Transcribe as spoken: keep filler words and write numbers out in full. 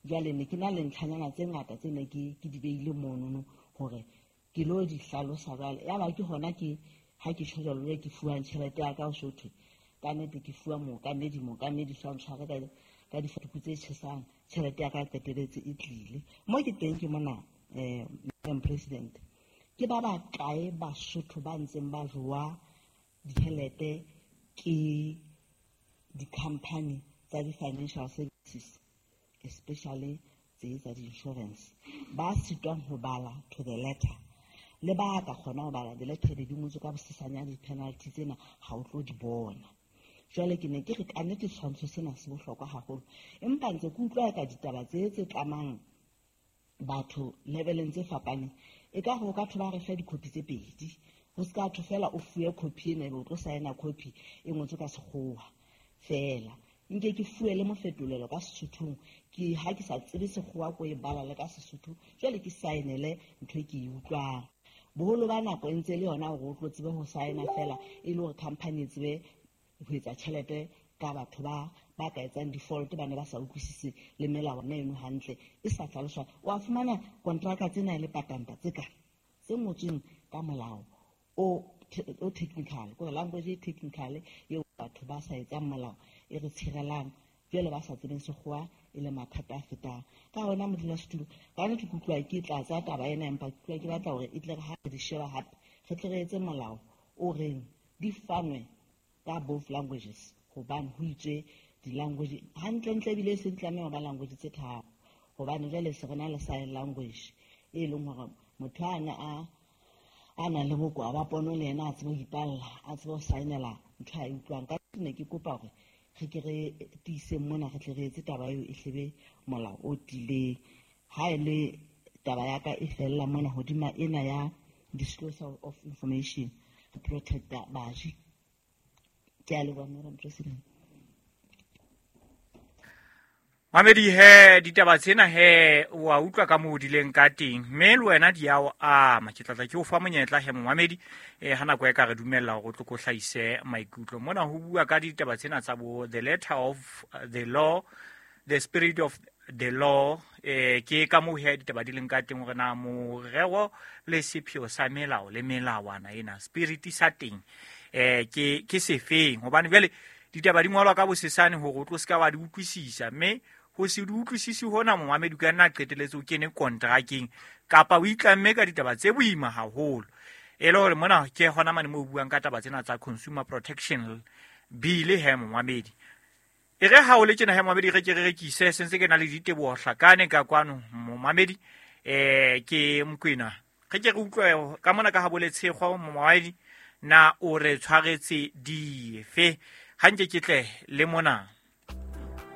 Jwale ne ke na le ntlhanyana tse ngata tse ne ke ke di beile monono hore ke lo di hlalosa jwale. Yaba ke hona ke ha ke tjho jwalo ke fuwang tjhelete ya ka ho so thwe ka nnete ke fuwa mookamedi, mookamedi so a ntshware ka ka difatuku tse tjhesang, tjhelete ya ka e qetelletse e tlile. Mo ke teng ke mona eh Madam President, ke ba bakae Basotho ba ntseng ba jowa ditjhelete ke di-company tsa di-financial services, especially tse tsa di-insurance, ba sitwang ho bala to the letter, le ba ka kgona ho bala the letter be di ngotswe ka bosesanyane, di-penalty tsena ha o tlo di bona. Jwale ke ne ke re kannete setshwantsho sena se bohlokwa haholo, empa ntse ke utlwa ka ditaba tse tse tlamang batho leveleng tse fapaneng, e ka ho ka thwe ba re fe dikhopi tse pedi, ho se ka thwe fela o fuwe copy ena ebe o tlo saena copy e ngotswe ka sekgowa fela. Nke ke fuwe le mofetolelo ka Sesothong, ke ha ke sa tsebe sekgowa ko e bala le ka Sesotho, jwale ke saenele ntho e ke e utlwang. Boholo ba nako e ntse le yona hore o tlo tsebe ho saena fela e le hore company e tsebe ho etsa tjhelete ka batho ba ba ka etsang default, ba ne ba sa utlwisise le melawana eno hantle e sa hlaloswa. Wa fumana kontraka tsena e le patanta tse ka tse ngotsweng ka molao o o technical, kore language e technical eo batho ba sa etsang molao e re tshirelang, jwale ba sa tsebeng sekgowa e le mathata a fetang. Ka hona modulasetulo, ka nnete ke utlwa ke tlatsa taba ena, empa ke utlwa ke batla hore e tle re ha re di sheba hape re tle re etse molao o reng di fanwe ka both languages, hobane ho itswe di-language hantlentle ebile e se di tlameha ho ba language tse tharo, hobane jwale se re na le sign language e leng hore motho a ne a a nang le bokowa ba pono le yena a tsebe ho ipalla, a tsebe ho saenela ntho a e utlwang. Ka ne ke kopa hore re ke re tiiseng mona, re tle re etse taba eo e hlebe molao o tiileng. Ha e le taba ya ka e fella mona hodima ena ya disclosure of information to protect baji. Ke a leboha Madam President. Mamedi he ditaba tsena he wa utlwa ka moo di leng ka teng, mme le wena di a o ama. Ke tlatla ke o fa monyetla he momamedi eh ha nako e ka re dumella hore o tlo ko hlahise maikutlo. Mona ho bua ka ditaba tsena tsa bo the letter of the law, the spirit of the law, eh ke ka moo he ditaba di leng ka teng hore na morero le sepheo sa melao le melawana ena spirit sa teng eh ke ke sefeng, hobane jwale ditaba di ngolwa ka bosesane hore o tlo ska wa di utlwisisa, mme ho se di utlwisisi hona momamedi ka nna qetelletse o kene kontrakeng kapa o itlamme ka ditaba tse boima haholo. E le hore mona ke hona mane mo buang ka taba tsena tsa Consumer Protection Bill he momamedi. E re ha o le tjena he momamedi, re ke re rekise sentse ke na le diteboho hlakane ka kwano momamedi, eh ke Mokwena. Re ke re utlwe ka mona ka ha boletshego momamedi na o re tshwaretse dife. Ha nke ke tle le mona.